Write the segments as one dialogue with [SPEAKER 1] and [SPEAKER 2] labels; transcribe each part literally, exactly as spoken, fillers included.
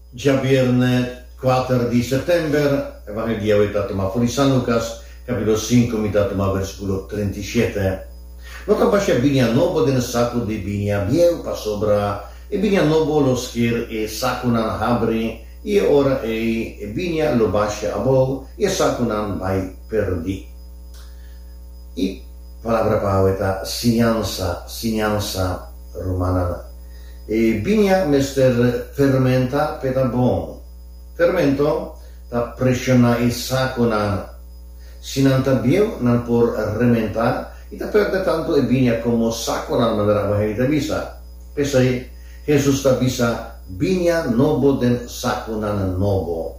[SPEAKER 1] Djabièrnè kuater di sèptèmber, Evangelio ta tumá for di San Lukas, kapítulo sinku, mi ta tuma versíkulo trinta i shete. No ta basha biña nobo den saku di biña bieu, pasobra e biña nobo lo sker e sakunan habri, i e ora ei e biña lo basha abou i e sakunan bai pèrdí. E palabra pa awe ta siñansa, siñansa, rumannan. E biña mester fermentá p'e ta bon. Fermento ta preshoná e sakunan. Si nan ta bieu, nan por rementá i ta pèrdè tantu e biña komo sakunan, manera Evangelio ta bisa. P'esei, Hesus ta bisa biña nobo den sakunan nobo.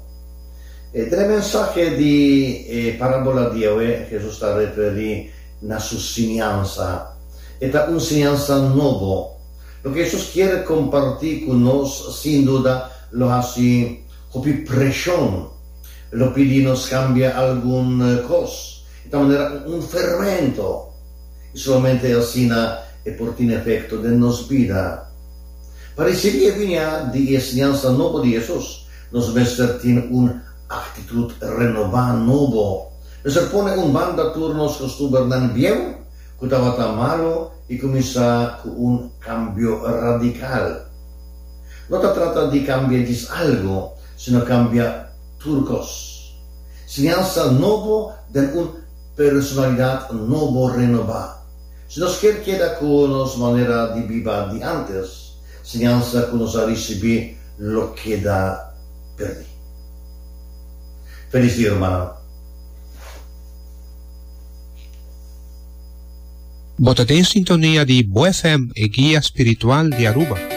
[SPEAKER 1] E den e mensahe di e parábola di awe, Hesus ta referí na su siñansa. E ta un siñansa nobo. Loke Hesus kier kompartí ku nos, sin duda, lo hasi hopi preshon. Lo pidi nos kambia algun kos. E ta manera un fermento. I solamente asina e por tin efekto den nos bida. Pa risibí e biña di e siñansa nobo di Hesus, nos mester tin un aktitut renobá, nobo. Mester pone un banda tur nos kostumbernan bieu ku tabata malu i kuminsá ku un kambio radikal. No ta trata di kambia djis algu, sino kambia tur kos. Siñansa nobo den un personalidat nobo renobá. Si nos kier keda ku nos manera di biba di ántes, siñansa ku nos a risibí lo keda pèrdí. Felis dia, rumannan.
[SPEAKER 2] Bo ta den sintonia di Bo F M, e guia spiritual di Aruba.